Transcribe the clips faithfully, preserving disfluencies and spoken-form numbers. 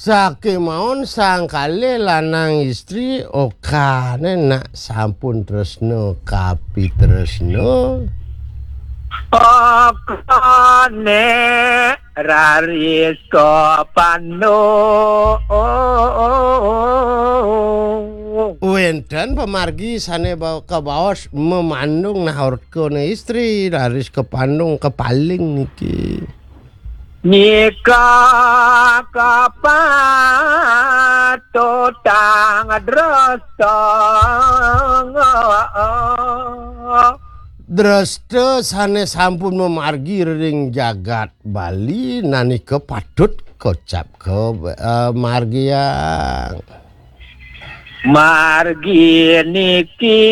Sakémaon sang kalih lanang istri, okahné nak sampun tresna kapitresna. Okahné raris kapandung. Wénten pamargi sané ba-, kabaos mamandung, nah orkané istri, raris kapandung, kapaling niki. Nika kapatutang dresta. Dresta sané sampun mamargi ring jagat Bali, nah nika patut kocap ka, eh, margiang. Margi niki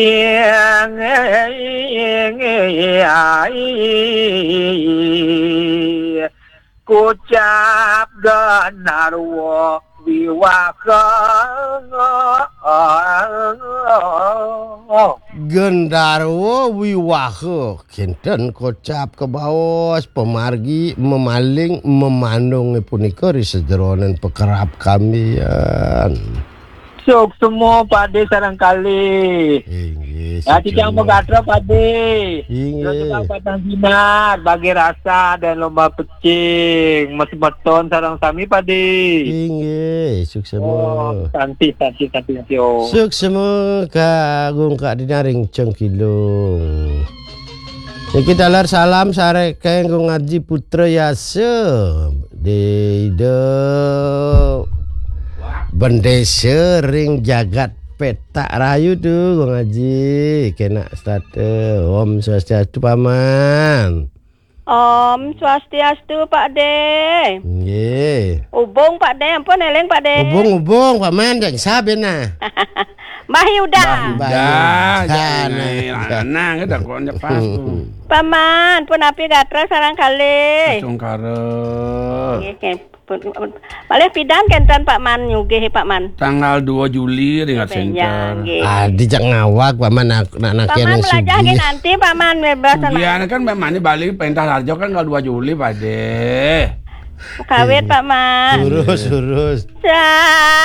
kocap gendarwa wiwaha. Gendarwa wiwaha, kinten kocap kabaos, pamargi, mamaling, mamandung punika ri sajeroning pakerab kambian. Suksma Pak Dé sareng kalih. Inggih, ya, titiang suksma. Magatra Pak Dé. Inggih. Terus juga Pak Tang Sinar, bagi rasa dan lomba pecing, masemeton sareng sami Pak Dé. Inggih, suksma. Oh, santi, santi, santi, santi, oh. Suksma, Kak Agung, Kak Dina ring Cengkilung. Niki taler salam saking Gung Aji Putra Yasa. Di Ida Bendesa ring jagat Petak Rayu tu, Gung Aji. Kenak setata. Om Swastiastu, Paman. Om Swastiastu, Pak Dé. Nggih. Ubung, Pak Dé, ampun éling, Pak Dé. Ubung, ubung, Paman, jak sabena. Mbah Yuda. Mbah Yuda, Mbah Yuda, jangan nah. Lanang, dah kok nyepas tu. Paman, punapi gatra sareng kalih. Astungkara. Nggih, nggih. Pun, pun. Malih pidan kénten Pak Man nyugih, Pak Man? Tanggal dua Juli ring Nggih, Center. Nggih. Ah, dijak ngawag, Pak Man, nak, nak, nak Pak Man kene melajah sugih. Nggih nanti, Pak Man, bebas. Biar kan Pak Man ini balik perintah Larjo kan tanggal dua Juli, Pak Dé. Kawit, Pak Man. Urus, urus. Sa-